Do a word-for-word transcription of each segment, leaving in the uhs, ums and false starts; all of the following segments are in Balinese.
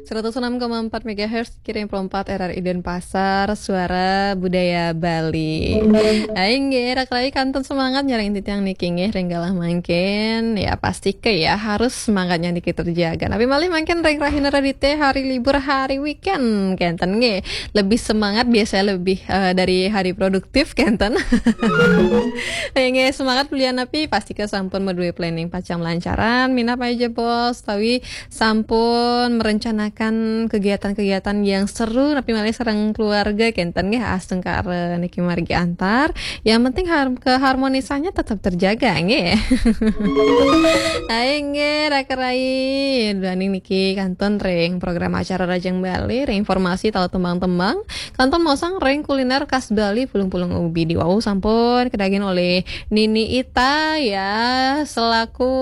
Seratus enam koma empat megahertz, kiring empat R R I Denpasar, Suara Budaya Bali. Aing ge, rak rai kantun semangat nyarang titiang niki nggih, ring galah mangkin. Ya, pasti ke ya, harus semangatnya niki terjaga. Tapi malih mangkin ring rahina Radite, hari libur, hari weekend, kenten nggih. Lebih semangat, biasanya lebih, eh, dari hari produktif, kenten. Nggih, semangat bulian napi, pasti ke sampun madué planning pacang lancaran, minab aja bos, tapi sampun merencanakan kegiatan-kegiatan yang seru, napi malih sareng keluarga, kenten nggih, astungkara niki margi antar. Yang penting har-, keharmonisannya tetap terjaga, nggih. Aing nggih, rak rai. Duaning niki kantun ring program acara Rajang Bali, ring informasi tahu tembang-tembang. Kantun maosang ring kuliner khas Bali, pulung-pulung ubi. Di wau sampun kedagin oleh Nini Ita ya, selaku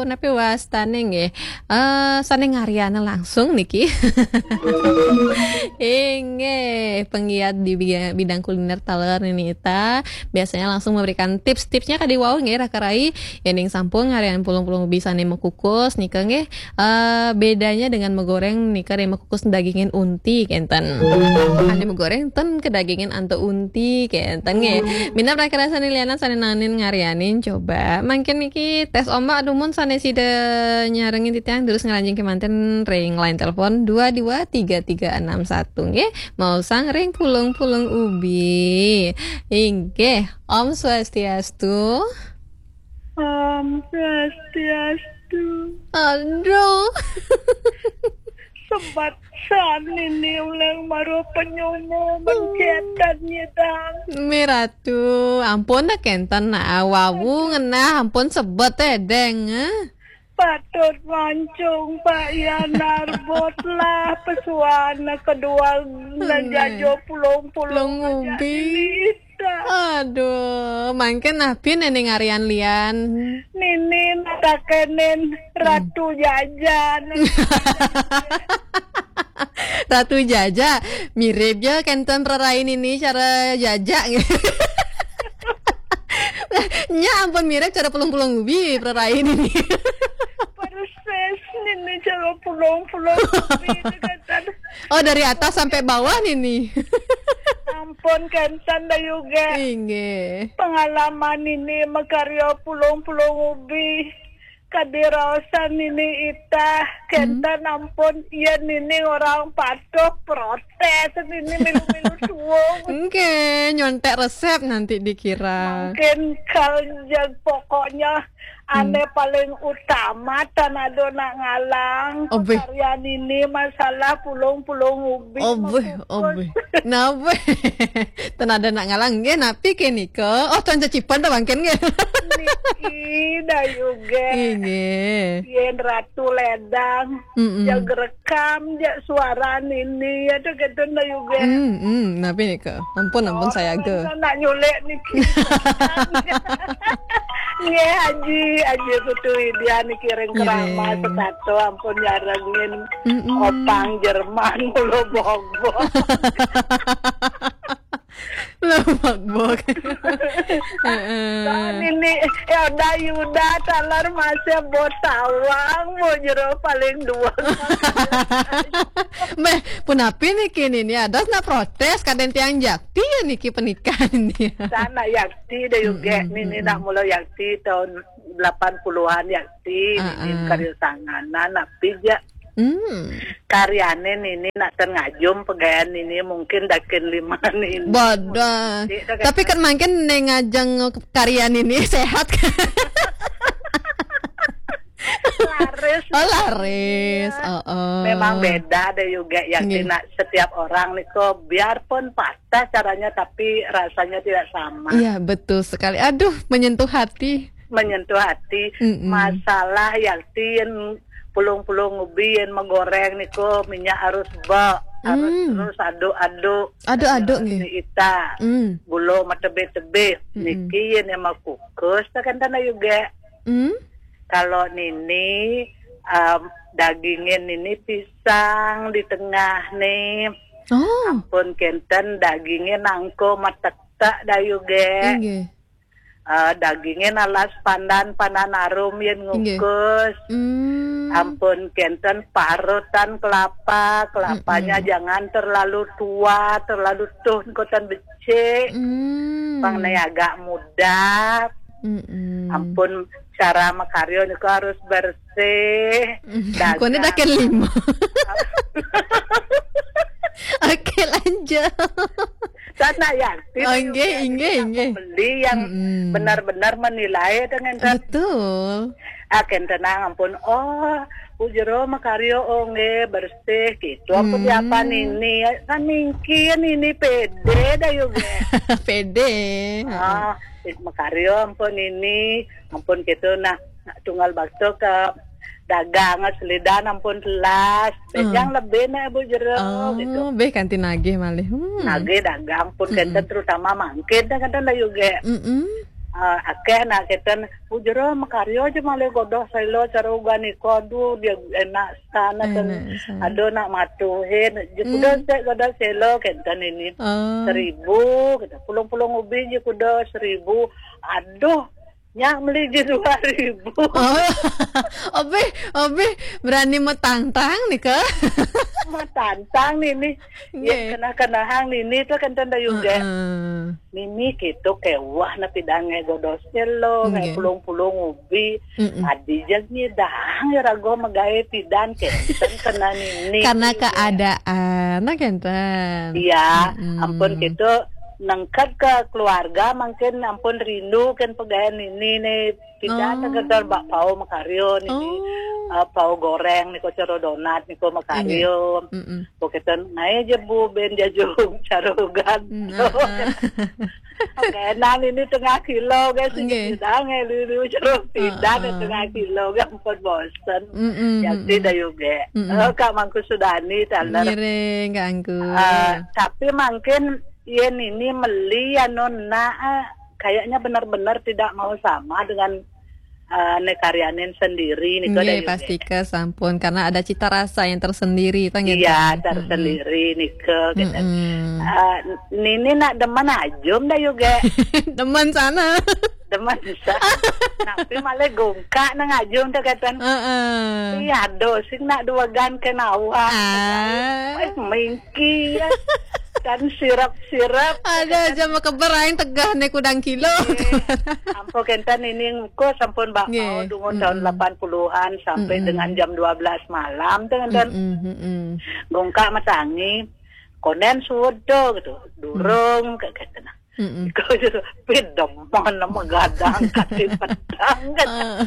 napi wastane nggih. Eh, sane ngariana langsung niki. Inggih, penggiat di bi-, bidang kuliner taler Nini Ita. Biasanya langsung memberikan tips-tipsnya ka di wau nggih, rak rai. Yéning sampun ngarian pulung-pulung ubi sane makukus nika nggih. Eh, bedanya dengan magoreng nika, ane makukus dagingin unti, kenten. Ane magoreng ten kedagingin antu unti, kenten nggih. Minab rak rai sane lianan sane nanin ngarianin coba. Mangkin niki tes ombak dumun sane sida nyarengin titiang terus ngranjing kemanten ring line telepon dua dua tiga tiga enam satu nggih. Maosang ring pulung-pulung ubi. Inggih, Om Swastiastu. Om Swastiastu. Aduh. Sebat san ini uleng maruh penyumu mencetan nyidang. Miratu, ampun dah kenten nah, wawu ngenah, ampun sebet eh, deng, eh. Patut mancung Pak Yanar bot lah pesuana kedua najajo pulung-pulung. Pulung ubi. Aduh, mangkin napi nene ngarian lian? Nini natakenen Ratu Jaja. Ratu Jaja, mirip ja kenten prarai nini cara jaja. Nya ampun mirip cara pulung-pulung ubi prarai nini. Persis nini cara pulung-pulung ubi kenten. Oh, dari atas sampai bawah nini. Ampun kenten da juga. Inggih. Pengalaman nini makarya pulung-pulung ubi. Kadiraosan nini Ita, kenten ampun, ya nini orang patuh protes, nini milu-milu suung. Oke, nyontek resep nanti dikira. Mungkin kal jag pokoknya ane paling utama tanado nak ngalang. Obeh. Karya nini masalah pulung-pulung ubi. Obeh, makukus. Obeh. Napa? Ten ada nak ngalang nggih, napi ke nika? Oh, tan cecipan ta mangkin nggih. Niki da juga. Inggih. Yen Ratu Ledang, mm-mm, jag rekam, jag suara nini, ya tu gitu da juga. Mm, mm, napi nika? Ampun, ampun, oh, sayaga. Nak nyulek niki. Nggih, Haji, Haji Putu Widya niki ring Kerama, nggih, setato, ampun nyarengin. Mm-mm. Opang Jerman, mulo bogbog. Mulo bogbog. Heeh. Nah, nini, ya udah Yuda, taler masih bot tawang, mau jero paling dua. Meh, punapi niki nini, ada nak protes, kaden tiang jakti ya niki pernikahan dia. Sana yakti da juga, mm-mm, nini, mm-mm, nak mula yakti tahun delapan puluhan yakti, nini, ah, ah, karya sanganan, napi ja. Hmm. Karyane nini nak ten ngajum pegayan nini mungkin dakin lima nini. Bodoh. Tapi kan mangkin ne ngajeng karya nini sehat. Laris. Oh, laris. Iya. Oh, oh. Memang beda da juga yang, nggih, nak setiap orang niko, biarpun patah caranya tapi rasanya tidak sama. Iya, betul sekali. Aduh, menyentuh hati. Menyentuh hati. Mm-mm. Masalah yakti yen pulung-pulung ubi yen magoreng niko minyak harus ba, harus, mm, terus aduk-aduk. Aduk-aduk, nggih. Ita. Mm. Gula matebih-tebih. Mm-mm. Niki yen makukus ta kenten juga. Mm. Kalau nini, em, dagingin nini pisang di tengah nih. Oh. Ampun kenten dagingin nangko matektek da juga. Inggih. Eh, dagingin alas pandan, pandan arum yen, inggih, ngukus. Hmm. Ampun kenten parutan kelapa, kelapanya Mm-mm. jangan terlalu tua, terlalu tuh, koten becik. Mm. Pang ne agak muda. Mm-mm. Ampun, cara makaryo niku harus bersih. Mm. Dagang. Kone daken lima. Oke, lanjut. Sana yang Oh, nggih, nggih, nggih. Pembeli yang Mm-mm. benar-benar menilai dengan Betul. Aken tenang ampun. Oh, Bu Jero makaryo, oh nggih, bersih gitu. Ampun Hmm. Diapan ini? Kan mingkin ini pede dah juga. Pede. Ah, makaryo ampun ini, ampun gitu. Nah, tunggal bakso ke dagang selidan ampun telas. Hmm. Yang lebih nih Bu Jero Oh, gitu. Beh kanti nagih malih. Hmm. Nagih dagang pun Mm-mm. kenten terutama mangkin dah kenten dah juga. Mm-mm. Ah, akeh nak kenten, "Oh, Jero makaryo aja malih godoh selo cara ugan iko, aduh, dia enak sana kan. Enak sana. Aduh, nak matuhin, je kuda Hmm. sek godoh selo kenten ini. Oh. Seribu, gitu. Pulung-pulung ubi je kuda seribu. Aduh, nyak meli je dua ribu." Oh. Obeh, obeh berani metantang nih, Kak. Metantang nih, nih. Ya, Nggih. Kena-kena hang nih, nih tuh kenten dah juga. Heeh. Mimi gitu kewah na pidan ngai godoh selo, ngai Nggih. Pulung-pulung ubi. Mm-mm. Adi jang nyidang ya rago magae pidan kenten kena nini. Karena gitu. Keadaan, nah kenten. Iya, Mm-mm. Ampun gitu nengket ke keluarga mungkin ampun rindu kan pegaen nini nih pidan Oh. Nengket bak pau makaryo nini. Oh. Eh, pau goreng niko cero donat niko makaryo. Nggih. Mm-mm. Poketen, "Nah, aja Bu, ben jajung carugan." Hmm, heeh. Oke, nah ini tengah kilo, guys. Nggih. Sedang ya, lulu jeruk pidan Heeh. Tengah kilo, gampang bosen. Mm-mm, Jadi mm-mm. Dah juga. Mm-mm. Oh, Kak Mangku Sudani, taler. Ngiring, Kak Angku. Eh, tapi mungkin, ya, ini meli, ya, Nona, eh, kayaknya benar-benar tidak mau sama dengan eh, ne karyanin sendiri nih, Nggih, pasti ke sampun, karena ada cita rasa yang tersendiri, tah nggih, Iya, Tan? Tersendiri nih, ke, gitu. Mm-mm. Eh, Nini nak demen ajum dah juga. Demen sana. Demen bisa. Tapi malah gongkak nang ajum tuh, kata. Heeh. Iya, aduh, sing nak dua gan ke nawa. Ah. Eh, ming- Kian. Dan sirap-sirap. Ada aja makeber aing tegah nih kudang kilo. Iya. Ampun kenten ini engko sampun bak Nggih. Mau dungun tahun Mm-mm. Delapan puluhan sampai Mm-mm. Dengan jam dua belas malam tuh kenten. Mm-mm, mm-mm. Gongkak matangi. Konen sudo gitu. Durung kayak gitu nah. Mm-mm. Kau sudah pedeman nama gadang kasih pedang kan. Ah.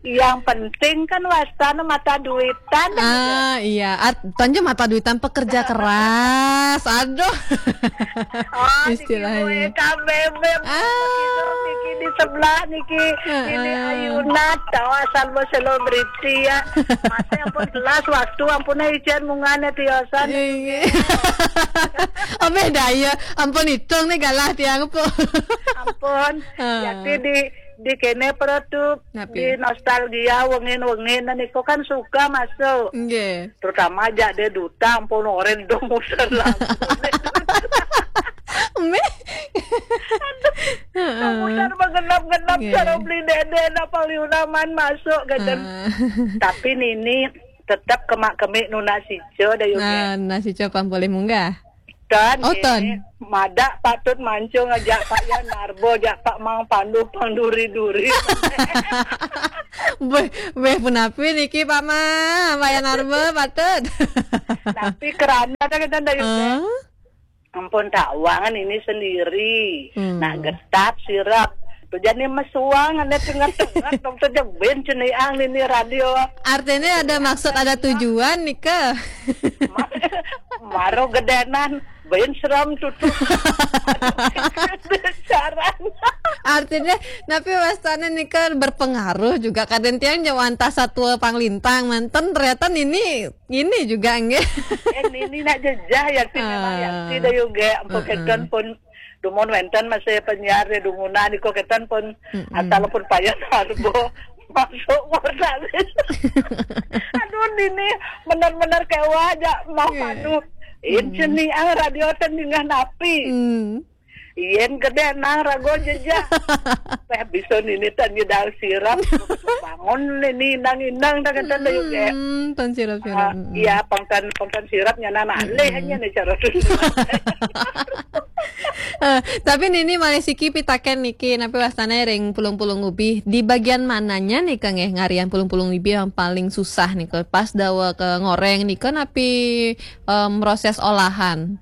Yang penting kan wastana mata duitan. Ah, iya. Art-, tanja mata duitan pekerja keras. Aduh. Oh, istilahnya. Niki K B B, Ah. Niki di sebelah niki. Heeh. Ini Ayuna, tahu asal mau selebriti ya. Masa ampun telas waktu, ampun ijen mungane tiosan. Iya. Oh, beda ya. Ampun hitung nih galah tiang apa. Ampun. Ah. Jadi di, di kene perut tuh, Napi? Di nostalgia wengin-wengin dan iko kan suka masuk. Nggih. Terutama aja dia duta, ampun orang dong muter lagu. Meh. Aduh, Heeh. Muter menggenap-genap Nggih. Cara beli dede, apa liunaman masuk, gitu. Ah. Tapi Nini tetap kemak-kemik nuna sico dah, Yuk, Nah, ya. Nasi copang boleh munggah. Ton, Oh, eh, ton. Madak patut mancung ajak Pak Yan Narbo, ajak Pak Mang Pandu, Pang Duri-Duri. Beh, beh, punapi niki, Pak Ma, Pak Yan Narbo, patut. Tapi kerana kan kita ndak juga. Hah? Ampun, tak uangan ini sendiri. Hmm. Nak getap sirap. Tu jadi mesuang, ada tengah-tengah, dong tu je ben ceniang ini radio. Artinya ada maksud, ada tujuan nih, ke? Ma-, maro gedenan, ben seram tutu. Caranya. Artinya, tapi wastana nih kan berpengaruh juga. Kadang tiang jauh antah satua panglintang, manten ternyata ini, ini juga, nggih. Eh, ini nak jejah, ya, sih, memang, ya, Ah, sih, dah juga. Ampun, heeh. Keton pun, dumun wenten masih penyiar, ya, dumunan, iko keton pun, Mm-mm. Asal pun payah, Narbo. Masuk warna. Aduh, ini benar-benar kewah aja, mau Iya. Padu. Ini Hmm. Nih, ah, radio ten dingah napi. Hmm. Yen gedé nang rago jejak. Peh bisa nini tan nyedal sirap. Bangun nini inang-inang dah kata dah juga. Hmm, tan sirap-sirap. Ah, iya, pangtan pangtan sirapnya nana alih hanya nih cara tu. Eh, tapi nini malih siki pitaken niki, napi wastane ring pulung-pulung ubi? Di bagian mananya nika nggih ngarian pulung-pulung ubi yang paling susah nika? Pas dawa ke ngoreng nika napi, em, proses olahan?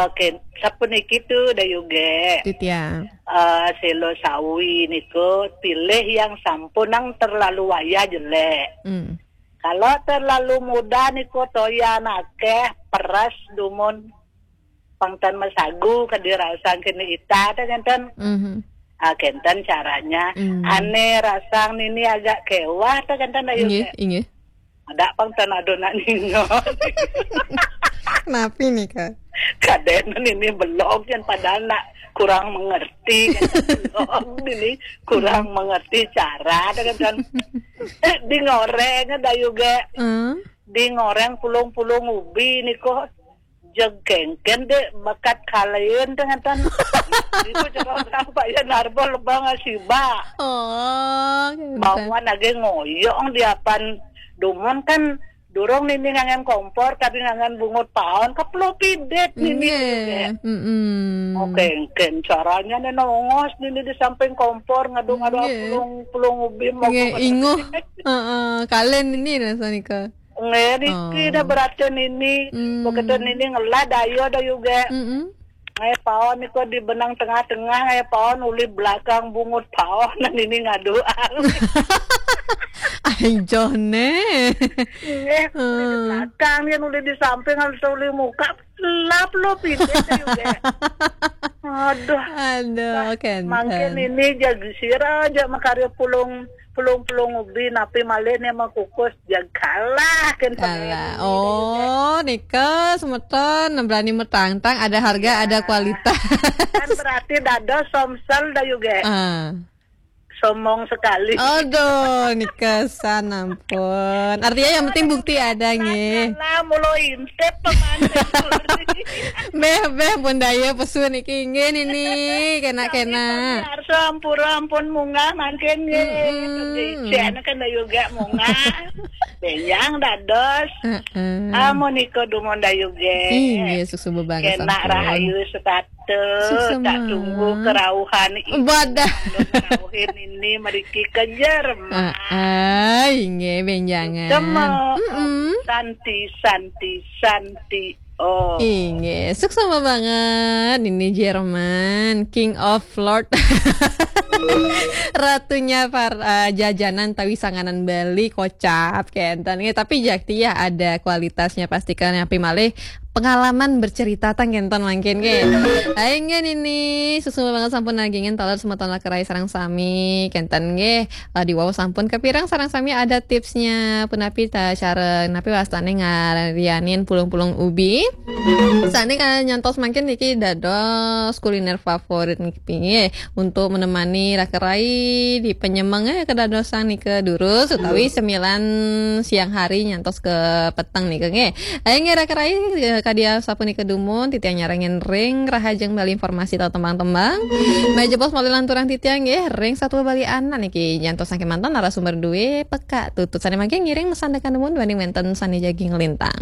Oke, sapuniki tu dah juga. Titiang. Eh, selo sawi niku pilih yang sampun nang terlalu wayah jelek. Hmm. Kalau terlalu muda niku toyan akeh, peres dumun pangtan masagu kadi rasang kini ita teh kenten. Mhm. Ah, kenten caranya. Hmm. Ane rasang nini agak kewah teh kenten ayu Inggih, teh. Inggih. Ada pangtan adonan nino. Napi nika? Kaden nini belum yang padahal nak kurang mengerti kan. Belum nini kurang mengerti cara teh kenten. Eh, di ngoreng ada juga. Eh, Di ngoreng pulung-pulung ubi niku jeg kengken dek bakat kalain teh ngenten. Itu cara orang Pak ya narba lebang asiba. Oh, kenten. Bauan lagi ngoyong di apan dumun kan durung nini ngangen kompor tapi ngangen bungut paon keplo pidet nini. Nggih. Mm-mm. Oke, kengken caranya nih nongos nini di samping kompor ngadu-ngadu Nggih. pulung-pulung ubi mau Nggih, inguh. Heeh, kalen ini rasa nika. Nggih, niki Oh. Dah berarti nini. Hmm. Begitu nini ngelah dayo dah juga. Mm-mm. Ngai paon niku di benang tengah-tengah, ngai paon uli belakang bungut paon dan ini ngaduang. Ai jone. Nggih, uli di belakang dia uli di samping harus uli muka lap lo pindah juga. Aduh. Aduh, kenten. Mangkin ini jaga sira aja makarya pulung pulung-pulung ubi napi malih nih mau kukus jag kalah kan Kalah. Oh, nika semeton berani metangtang, ada harga, ada kualitas. Kan berarti dados somsel dah juga. Ah. Somong sekali. Aduh, nika san ampun. Artinya yang penting bukti ada nggih. Lah mulo intip pemantik. Beh, beh, pun daya pesu niki nggih nini, kena-kena. Arsa ampura ampun munggah mangkin nggih. Mm-mm. Ijana kan juga munggah. Benjang dados. Heeh. Amun iko dumun dayuge. Inggih, suksma banget Kena sampun. Rahayu setata. Suksma. Tak tunggu kerauhan. Badah. Kerauhin ini meriki kejer. Ah, ah, inggih, benjangan. Cuma. Mm-mm. Santi, santi, santi. Oh. Inggih, suksma banget. Ini Jerman, King of Lord. Ratunya para jajanan tawi sanganan Bali, kocap kenten. Nggih, tapi jakti ya ada kualitasnya pasti kan, napi malih pengalaman bercerita tang kenten mangkin nggih. Ayo nggih nini, suksma banget sampun nagingin taler semeton Rakerai sareng sami kenten nggih. Eh, di wau sampun kepirang sareng sami ada tipsnya punapi ta cara napi wastane ngarianin pulung-pulung ubi. Sane kan nyantos mangkin niki dados kuliner favorit niki nggih untuk menemani Rakerai di penyemeng, eh, kedadosan nika durus utawi semilan siang hari nyantos ke peteng nika nggih. Ayo nggih Rakerai, eh, kadi asapunika dumun titiang nyarengin ring rahajeng Bali informasi tau tembang-tembang. Meja pos malih lanturang titiang nggih ring Satua Bali Anak niki nyantos saking mantan narasumber duwe peka tutut sane mangkin ngiring mesandekan dumun duaning wenten sane jagi nglintang.